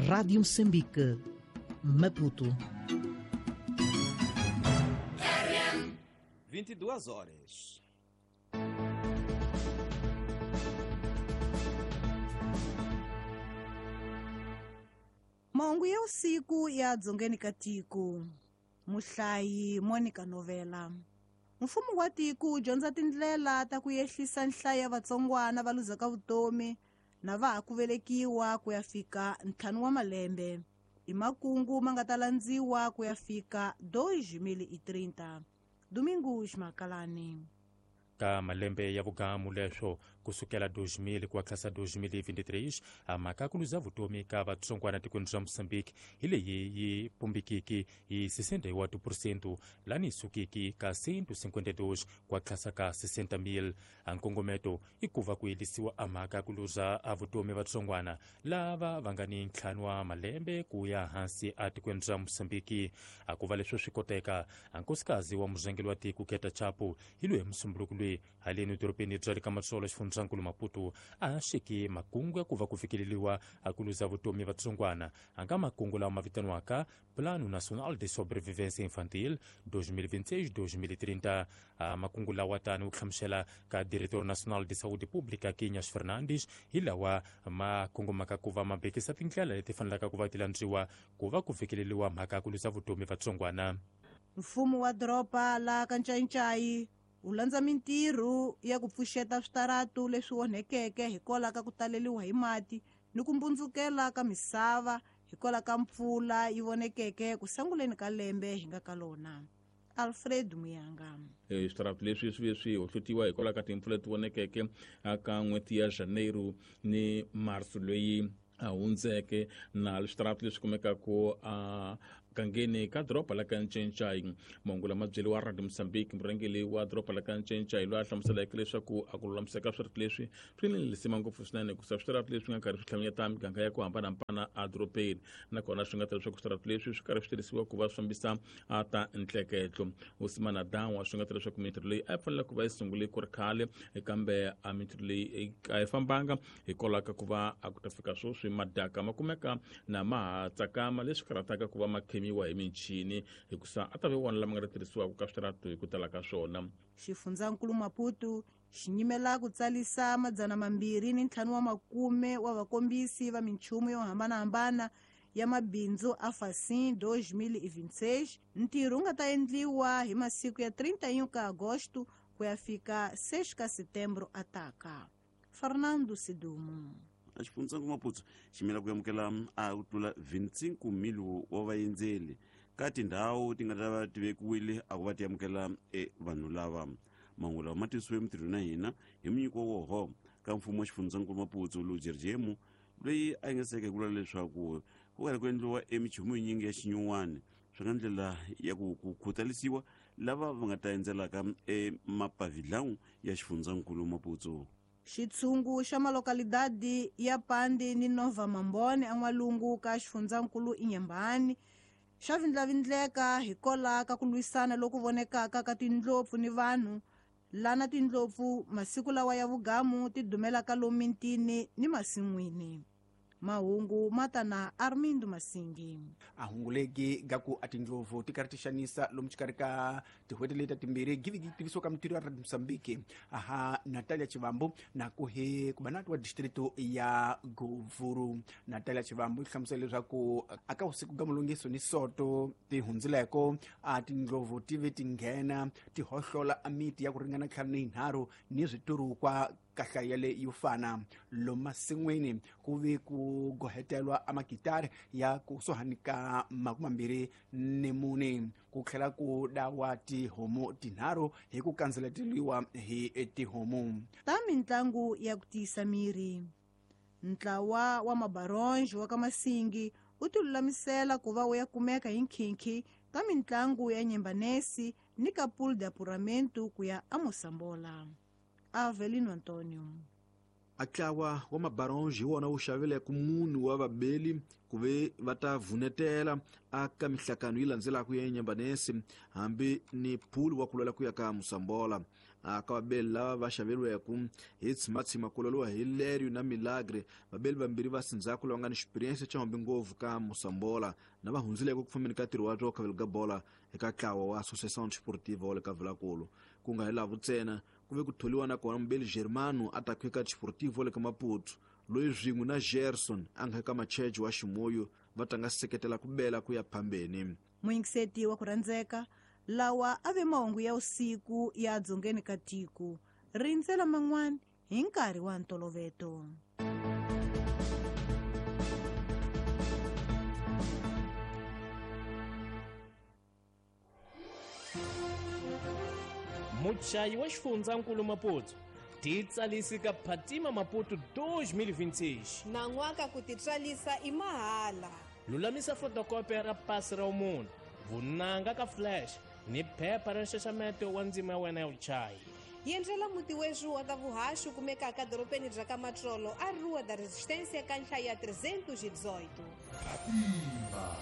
Rádio Moçambique, Maputo. 22 horas. Mahungu ya usiku ya dzongeni ka tiko. Muhlayi Monica Novela. Mfumo wa tiko wu dyondza tindlela ta ku yehlisa nhlayo ya vatsongwana va luzaka vutomi na va ha ku velekiwa ku ya fika 5 wa malembe. I makungu ma nga ta landziwa ku ya fika 2030. Domingos Makalani. Ka malembe ya vugamu leswo kusukela 2000 ku tlhasa 2023 mhaka ku luza vutomi ka vatsongwana tikweni ra Mozambique hi leyi yi pumbikiki hi 61% lani yi sukiki ka 152 ku tlhasa ka 60,000. Nkongometo i ku va ku yelisiwa a mhaka ku luza a vutomi vatsongwana lava va nga ni 5 wa malembe ku ya hansi a tikweni ra Mozambique. A ku va leswo swi koteka nkosikazi wa murhangeri wa tiko Keta Chapo hi loyi musumbunuko loyi haleni dorobeni bya le ka Matsolo xifundzankulu Maputo a xeki makungu ya ku va ku fikeleriwa a ku luza vutomi vatsongwana a nga makungu lawa ma vitaniwaka Plano Nacional de Sobrevivência Infantil 2026-2030. Makungu lawa tani wu hlamusela ka Diretor Nacional de Saúde Pública Quinhas Fernandes hi lawa ma kongomaka ku va ma bekisa tindlela leti fanelaka ku va ti landziwa ku va ku fikeleriwa mhaka ya ku luza vutomi vatsongwana. Mfumo wa doroba la Kanchanchayi wu landza mintirho ya ku pfuxeta switaratu leswi onhekeke hikwalaho ka ku taleriwa hi mati ni ku mbundzukela ka misava hikwalaho ka mpfula yi vonekeke ku sunguleni ka lembe hi nga ka lona. Alfred Muyanga. Switaratu leswi swi ve swi hohlotiwa hikwalaho ka timpfula leti vonekeke ka n'hweti ya Janeiro ni Marso loyi a hundzeke, na switaratu leswi kumekaka a gangeni ka doroba la Kanchenchai. Mahungu lama byeriwa Radio Mozambique murhangeri wa doroba la Kanchenchai loyi a hlamuseleke leswaku a ku lulamiseka switaratu leswi swi ni lisima ngopfu swinene hikusa switaratu leswi nga karhi swi hlanganyeta miganga ya ku hambanahambana edorobeni, nakona swi nga ta leswaku switaratu leswi swi karhi swi tirhisiwa ku va swi fambisa ta ntleketlo. Usimana Dawa swi nga ta leswaku mintirho leyi a yi fanele ku va yi sungule ku ri khale, kambe a mintirho leyi a yi fambanga hikwalaho ka ku va a ku ta fika sweswi madaka ma kumeka na ma ha tsakama, leswi karhataka ku va ma khemiwa hi michini hikusa a ta ve wona lama nga ta tirhisiwaka ka switaratu hi ku tala ka swona. Xifundzankulu Maputo xi nyimela ku tsalisa 250 wa vakombisi va minchumu yo hambanahambana ya mabindzu a Facim 2026. Ntirho wu nga ta endliwa hi masiku ya 31 ka Agosto ku ya fika 6 ka Setembro ataka. Fernando Sidumo. Xifundzankulu Maputo xi yimela ku amukela a ku tlula 25,000 wa vaendzeli ka tindhawu ti nga ta va ti vekiwile a ku va ti amukela vanhu lava. Mahungu lawa ma tisiwe mintirhweni ya hina hi munyiko woho ka mfumo wa xifundzankulu Maputo Lujerjemu loyi a yingiseke hi ku vula leswaku ku karhi ku endliwa emichumu yinyingi ya xinyuwani swi nga ndlela ya ku khutalisiwa lava va nga ta endzelaka emapavilhawu ya xifundzankulu Maputo. Xitshungu xa malokalidadi ya Pandi ni Nova Mambone en'walungu ka xifundzankulu Inhambane xa vindlavindleka hikwalaho ka ku lwisana loku vonekaka ka tindlopfu ni vanhu lana tindlopfu masiku lawa ya vugamu ti dumelaka lomu mitini ni masin'wini. Mahungu ma ta na Armindo Masingi. A hunguleki ga ku a tindlovu ti karhi ti xanisa lomu xikarhi ka tin'hweti leti timbirhi giviki tivisiwa ka mintirho ya Radio Mozambique aha Natalia Chivambu na ku hi kubanati wa distrito ya Govuru. Natalia Chivambu yi hlamusela leswaku aka usiku ga mulungiso ni soto ti hundzileko a tindlovu ti ve ti nghena ti hohlola a miti ya ku ringana 53 ni switurukwa kahlaya le yo fana lomu masin'wini ku ve ku gohetelwa a makitari ya kusuhani ka 24 ku tlhela ku dawa tihomu 3 hi ku kandzeleteliwa hi tihomu. Ta mintlangu ya ku tiyisa miri. Ntlawa wa mabaronge wa ka Masingi wu tilulamisela ku va wu ya kumeka hi nkhinkhi ka mintlangu ya Nyembanesi ni ka Pool de Apuramento ku ya aMosambola. Avelino Antonio. Atlawa wa mabaronge hi wona wu xaveleke munhu wa vabeli ku ve va ta vunetela aka mihlakano yi landzelaka ya Nyambanesi hambi ni pool wa ku lwela ku ya ka Mosambola. Ka vabeli lava va xaveriweke hi tshimatshima ku loliwa hi Lerio na Milagre, vabeli vambirhi va sindzhaku lava nga ni xipiriyense xa hombi ngopfu ka Mosambola na va hundzileke ku fambeni ka ntirho wa to khavelo ka bola eka ntlawa wa Associação Desportiva wa le ka Vilankulu. Ku nga hi lavo ntsena, ku ve ku tholiwa na kona mubeli Germano a ta eka Desportivo wa le ka Maputo, loyi swin'we na Gerson a nga eka Machejo wa Ximoyo va tanga seketela ku bela ku ya phambeni. Muyingiseti wa ku rhandzeka, lawa a ve mahungu ya usiku ya dzongeni ka tiko, rindzela man'wana hi nkarhi wa ntoloveto. Muchayi wa xifundzankulu Maputo titsalisi ka Phatima Maputo 2026. Nan'waka ku titswalisa i mahala. Lulamisa fotokopi ra pasi ra munhu, vunanga ka flash ni phepha ra nxaxameto wa ndzima ya wena ya vuchayi. Yendlela muti wexu wa ta vuhaxi kumekaka dorobeni bya ka Matsolo a Rua da Resistência ka nhlaya 318. Phatima.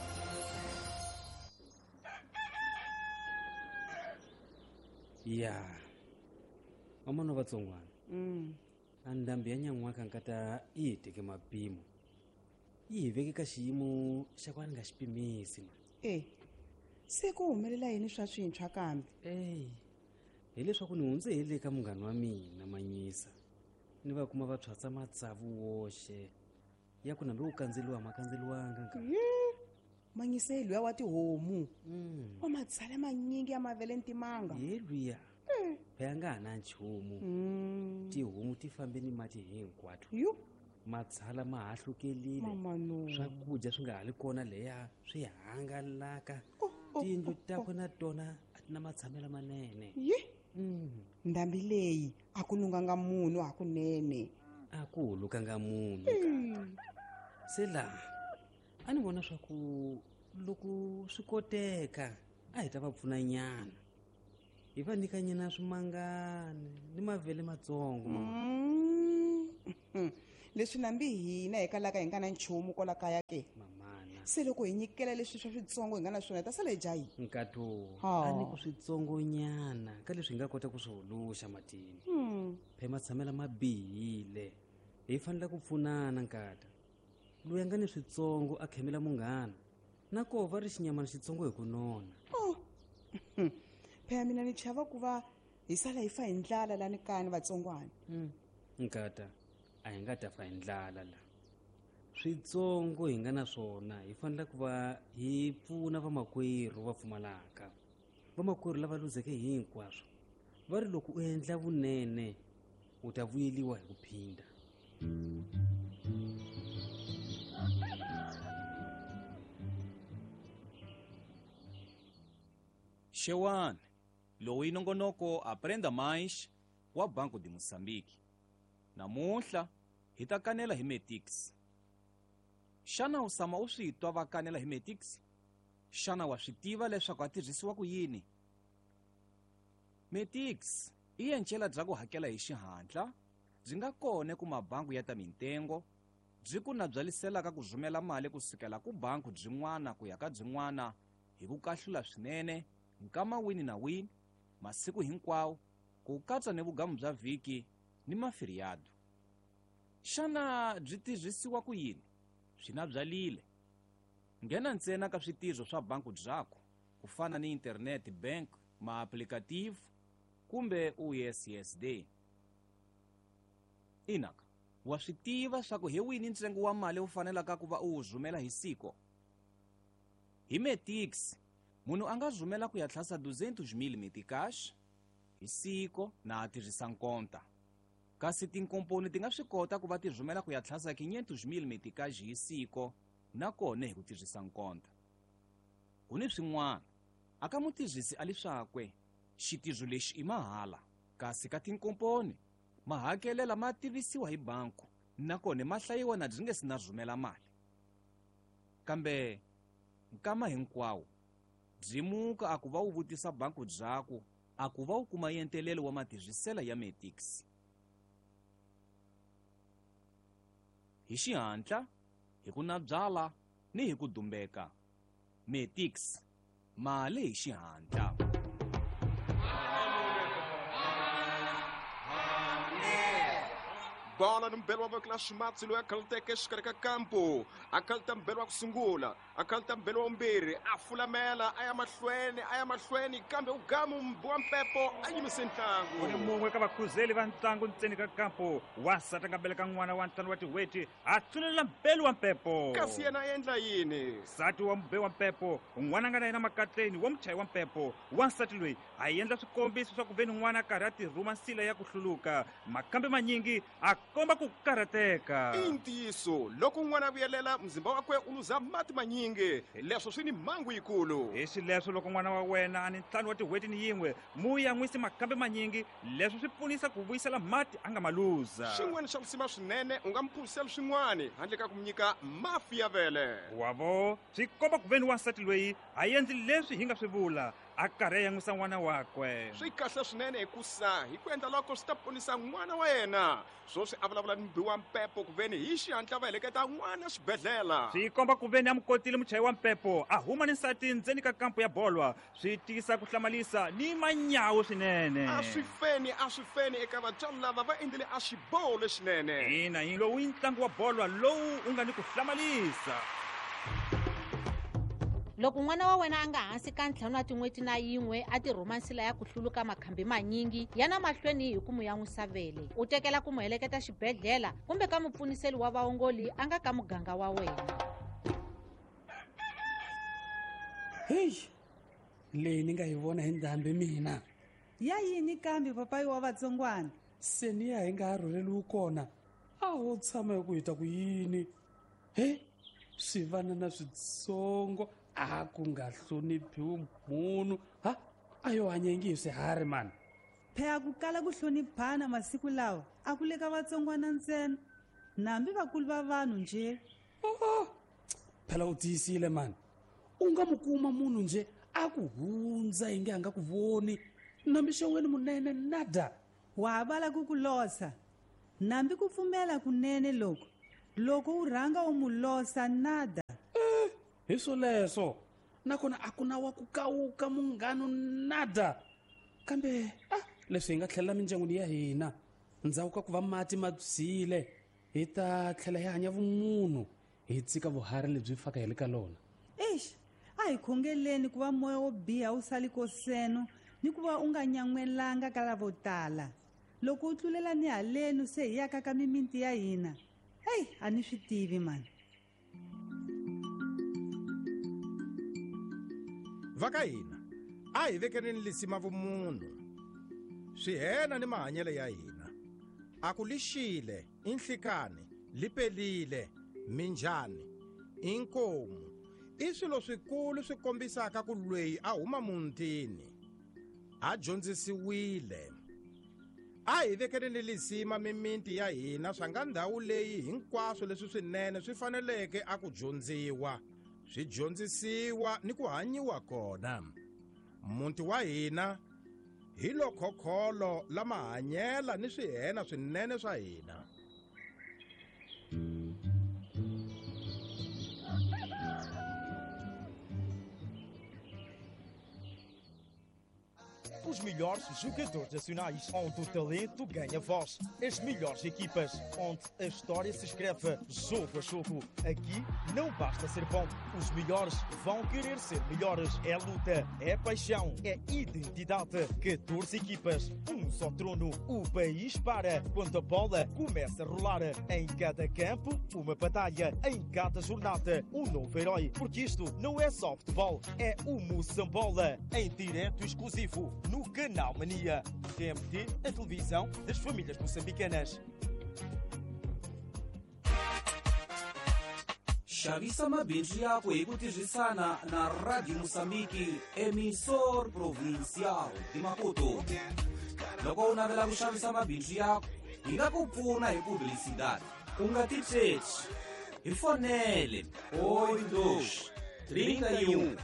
Ya vamana vatsongwana, a ndhambi ya nyan'waka nkata yi hi teke mapimo, yi hi veke ka xiyimo xa ku a ni nga xi pimisi ma. E se ku humelela yini swa swintshwa kambe? Eyi, hileswaku ni hundze hi le ka munghana wa mina Manyisa, ni va kuma va tshwatsa matsavu woxe ya ku nambi ku kandzeliwa ma kandzeliwanga nka. Manyisa hi luya wa tihomu wa matshala manyingi ya mavele ntimanga. Ye luya phela nga ha na nchumu, tihomu ti fambe ni mati hinkwato, matshala ma hahlukelile, swakudya swi nga ha li kona leya swi hangalaka, tiyindlu takwe na tona a ti na matshamelo manene. Ye, ndhambi leyi a ku lunganga munhu hakunene. A ku hulukanga munhu kata. Se laha a ni vona swa ku loko swi koteka a hi ta va pfuna nyana, hi va nyika nyana swimangani ni mavele matsongo mama. Leswi nambi hina hi kalaka hi nga na nchumu kwala kaya ke mamana, se loko hi nyikela leswi swa switsongo hi nga na swona hi ta sala hi dya yini? Nkato a ni ku switsongonyana ka leswi hi nga kota ku swi huluxa matini. Phe matshamela ma bihile, hi fanele ku pfunana nkata. Loyi a nga ni switsongo a khemela munghana, na koho va ri xinyamana xitsongo hi ku nona. Phela mina ni chava ku va hi sala hi fa hi ndlala lani kani vatsongwana. Nkata a hi nga ta fa hi ndlala la. Switsongo hi nga na swona hi fanele ku va hi pfuna vamakwerhu va pfumalaka, vamakwerhu lava luzeke hinkwaswo. Va ri loko u endla vunene u ta vuyeliwa hi ku phinda. Xewani, lowu i nongonoko Aprenda Mais wa Banco de Moçambique. Namuntlha hi ta kanela hi Metix. Xana u tshama u swi twa va kanela hi Metix? Xana wa swi tiva leswaku a tirhisiwa ku yini? Metix i encela bya ku hakela hi xihatla, byi nga kona ku mabangu ya ta mintengo, byi ku nabyaliselaka ku rhumela mali kusukela ku bangu byin'wana ku ya ka byin'wana hi ku kahlula swinene nkama wini na wini, masiku hinkwawo, ku katsa ni vugamu bya vhiki ni mafiriyado. Xana byi tirhisiwa ku yini? Swi na byalile. Nghena ntsena ka switirho swa banku byakho, ku fana ni internet bank, maaplikativu kumbe USSD. Inaka, wa swi tiva swa ku hi wini ntsengo wa mali wu fanelaka ku va u wu rhumela hi siko? Hi Metix, munhu a nga rhumela ku ya tlhasa 200,000 meticash hi siko na a tirhisa nkonta. Kasi tinkomponi ti nga swi kota ku va ti rhumela ku ya tlhasa 500,000 meticash hi siko na kona hi ku tirhisa nkonta. Ku ni swin'wana, a ka mutirhisi a leswakwe xitirho lexi i mahala, kasi ka tinkomponi mahakelela ma tivisiwa hi banku nakona ma hlayiwa na byi nge si na rhumela mali. Kambe nkama hinkwawo byi muka a ku va wu vutisa banku byaku a ku va wu kuma yentelelo wa matirhisela ya Metix. Hi xihatla, hi ku nabyala ni hi ku dumbeka. Metix, mali hi xihatla. Bola ni mbelo wa voko la ximatsi loyi a khaluteke exikarhi ka kampo, a khaluta mbelo wa ku sungula, a khaluta mbelo wa vumbirhi, a fulamela a ya mahlweni, a ya mahlweni, kambe u gamu wa mpepo a yimise ntlangu. Ku ni mun'we ka vakhuzeli va ntlangu ntseni ka kampo, wansati a nga beleka n'wana wa 5 wa tin'hweti, a tsunelela mbelo wa mpepo. Kasi yena a endla yini? Nsati wa mube wa mpepo, n'wana a nga na yena makatleni wa muchayi wa mpepo, wansati loyi a endla swikombiso swa ku ve ni n'wana a karhi a tirhuma nsila ya ku hluluka, makambe manyingi a komba ku karhateka. I ntiyiso, loko n'wana a vuyelela, muzimba wakwe u luza mati manyingi, leswo swi ni mhangu yikulu. Hi xileswo, loko n'wana wa wena a ni 5 wa tin'hweti ni yin'we, mu yan'wisi makambe manyingi, leswo swi pfunisa ku vuyisela mati a nga ma luza. Xin'wana xa risima swinene, u nga mu phuzisela swin'wana handle ka ku mu nyika mafi ya vele. Wavo, swi komba ku ve ni wansati loyi a endli leswi hi nga swi vula, a karhi a yan'wisa n'wana wakwe. Swi kahle swinene hikusa hi ku endla loko swi ta ponisa n'wana wa yena. Sweswi a vulavula ni mubi wa mpepo ku veni hi xihatla va heleketa n'wana xibedhlele. Swi komba ku veni a mu kotile muchayi wa mpepo, a huma ni nsati ndzeni ka kampo ya bolwa, swi tiyisa ku hlamalisa ni manyawu swinene. A swi feni, a swi feni eka vatswari lava va endlile a xiboho lexinene. Ina, hi lowu i ntlangu wa bolwa lowu wu nga ni ku hlamalisa. Loko n'wana wa wena a nga hansi ka 5 wa tin'hweti na yin'we a tirhuma nsila ya ku hluluka makhambi manyingi, yana mahlweni hi ku mu yan'wisa vele, u tekela ku mu heleketa xibedhlele kumbe ka mupfuniseli wa vaongoli a nga ka muganga wa wena. Heyi, leyi ni nga yi vona hi ndhambi mina. Ya yini kambe papayi wa vatsongwana? Se ni ya hi nga ha rhurheliwi kona, a ho tshama hi ku hi ta ku yini? He, swivanana switsongo a ku nga hloniphiwi munhu, ha a yo hanya ingi hi swiharhi mani. Phela ku kala ku hloniphana masiku lawa a ku le ka vatsongwana ntsena, nambi vakulu va vanhu nje. Oh, phela u tiyisile mani, u nga mu kuma munhu nje a ku hundza inge a nga ku voni, nambi xeweni munene nada. Wa ha vala ku ku losa, nambi ku pfumela kunene loko loko u rhanga u mu losa nada. Hi swoleswo, nakona a ku na wa ku kawuka munghano nada. Kambe leswi hi nga tlhelela mindyangwini ya hina ndzhaku ka ku va mati ma byile, hi ta tlhela hi hanya vumunhu, hi tshika vuharhi lebyi faka hi le ka lona. Eish, a hi khongeleni ku va moya wo biha wu sali koseno ni ku va u nga nyan'welanga ka lavo tala. Loko u tlulela ni halenu se hi yaka ka mimiti ya hina, hey, a ni swi tivi mani. Va ka hina a hi vekeleni lisima vumunhu, swihena ni mahanyelo ya hina. A ku lixile, i nhlikani, li pelile, minjhani, i nkomu, i swilo swikulu swi kombisaka ku lweyi a huma mutini a dyondzisiwile. A hi vekeleni lisima mimiti ya hina swa nga ndhawu leyi hinkwaswo leswi swinene swi faneleke a ku dyondziwa, swi dyondzisiwa ni ku hanyiwa kona. Muti wa hina hi lokhokholo la mahanyela ni swihena swinene swa hina. Os melhores jogadores nacionais, onde o talento ganha voz. As melhores equipas, onde a história se escreve jogo a jogo. Aqui não basta ser bom, os melhores vão querer ser melhores. É luta, é paixão, é identidade. 14 equipas, um só trono. O país para quando a bola começa a rolar. Em cada campo, uma batalha. Em cada jornada, um novo herói. Porque isto não é só futebol, é o Moçambola. Em direto exclusivo no Canal Mania. TMT, a televisão das famílias moçambicanas. Xavisa mabindzu yakwe hi ku tirhisana na Radio Moçambique, emissor provincial de Maputo. Loko u navela ku xavisa mabindzu yakwe, hi nga ku pfuna hi publicidade. U nga titsheci. Hi fonele 82 31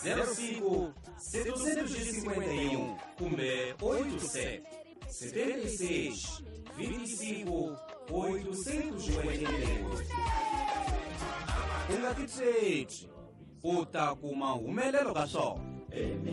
05 751 kumbe 87 76 25 888. U nga titsheci, u ta kuma humelelo ka swona.